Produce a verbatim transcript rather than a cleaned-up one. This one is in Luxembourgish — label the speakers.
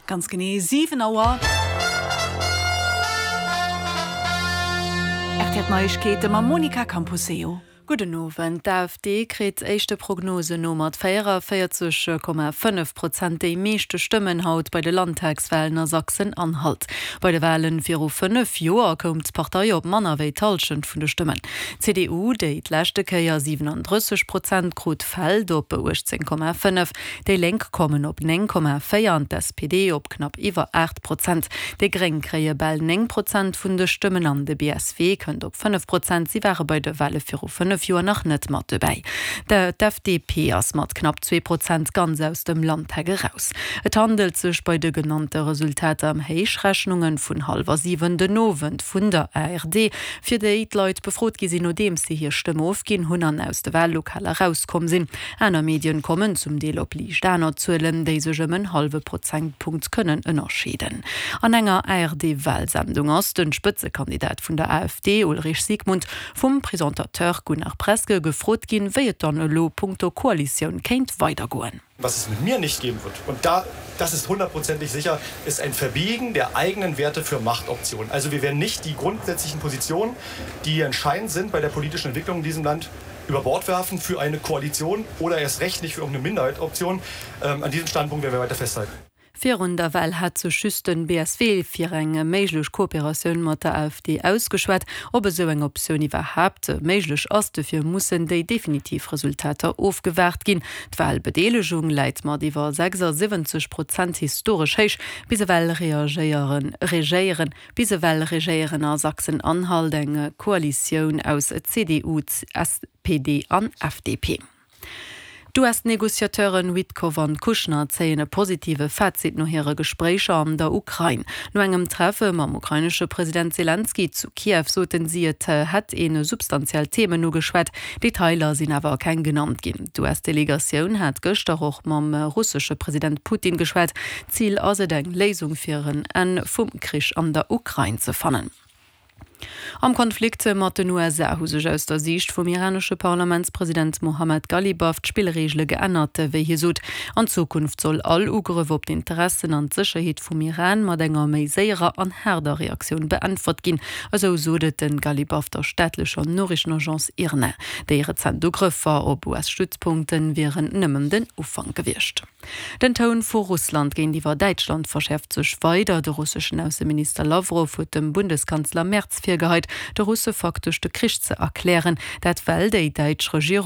Speaker 1: Ganz genee siwen Auer. R T L Neiegkeete mam Monica Camposeo.
Speaker 2: Gudden Owend. D'AfD kritt éischte Prognosen no mat véierundzwanzeg Komma fënnef Prozent déi meeschte Stëmmen haut bei de Landtagswalen a Sachsen-Anhalt. Bei de Walen viru fënnef Joer koum d'Partei op manner wéi d'Hallschent vun de Stëmmen. D'C D U, déi d'leschte Kéier siewenunddrësseg Prozent krut, fält op uechtzéng Komma fënnef. Déi Lénk kommen op néng Komma véier an d'S P D op knapp iwwer aacht Prozent. Déi Gréng kréie bal néng Prozent vun de Stëmmen an de B S W kënnt op fënnef Prozent. Si ware bei de Wale viru fënnef Joer nach net mat dobäi. D'F D P ass mat knapp zwee Prozent ganz aus dem Landtag eraus. Et handelt sech bei de genannte Resultater ëm Héichrechnunge vun hallwer siwen den Owend vun der A R D, fir déi d'Leit befrot gi sinn, nodeems si hir Stëmm ofginn hunn an aus de Wallokaler erauskomm sinn. Aner Medien kommen zum Deel op liicht aner Zuelen, déi sech ëm en hallwe Prozentpunkt kënnen ënnerscheeden. An enger A R D-Walsendung ass de Spëtzekandidat vun der A F D, Ulrich Siegmund, vum Presentateur Gunnar Preske gefrot ginn, wéi et dann elo punkto Koalitioun kéint weidergoen.
Speaker 3: Was es mit mir nicht geben wird, und da, das ist hundertprozentig sicher, ist ein Verbiegen der eigenen Werte für Machtoptionen. Also wir werden nicht die grundsätzlichen Positionen, die entscheidend sind bei der politischen Entwicklung in diesem Land, über Bord werfen für eine Koalition oder erst recht nicht für irgendeine Minderheitsoption. Ähm, an diesem Standpunkt werden wir weiter festhalten.
Speaker 2: Virun der Wal hat sech just den B S W fir eng méiglech Kooperatioun mat der A F D ausgeschwat. Ob esou eng Optioun iwwerhaapt méiglech ass, dofir mussen déi definitiv Resultater ofgewaart ginn. D'Walbedeelegung läit mat iwwer sechsundsiwwenzeg Prozent historesch héich. Bis ewell reagéieren, regéieren, bis ewell regéieren a Sachsen-Anhalt eng Koalitioun aus C D U, S P D an F D P. D'U S-Negociateuren Witkoff an Kushner zéien e positive Fazit no hire Gespréicher an der Ukrain. No engem Treffe mam ukrainesche President Selenskyj zu Kiew soten si, et hätt ee substanziell Themen ugeschwat, Detailer sinn awer keng genannt ginn. D'U S-Delegatioun hat gëschter och mam russesche President Putin geschwat. Zil ass et, eng Léisung fir en Enn vum Krich an der Ukrain ze fannen. Am Konflikt mat den U S A hu sech aus der Siicht vum iranesche Parlamentspresident Mohammad Ghalibaf d'Spillreegele geännert, wéi hie sot. An Zukunft soll all Ugrëff op d'Interessen an d'Sécherheet vum Iran mat enger méi séierer an haarder Reaktioun beäntwert ginn. Esou sot et de Ghalibaf der staatlecher Noriichtenagence IRNA. Déi rezent Ugrëffer op U S-Stützpunkte wieren nëmmen den Ufank gewiescht. Den Toun vu Russland géintiwwer Däitschland verschäerft sech weider. De russeschen Ausseminister Lawrow huet dem Bundeskanzler Merz virgeheit, de Russe faktesch de Krich ze erklären. Dat well déi däitsch Regierung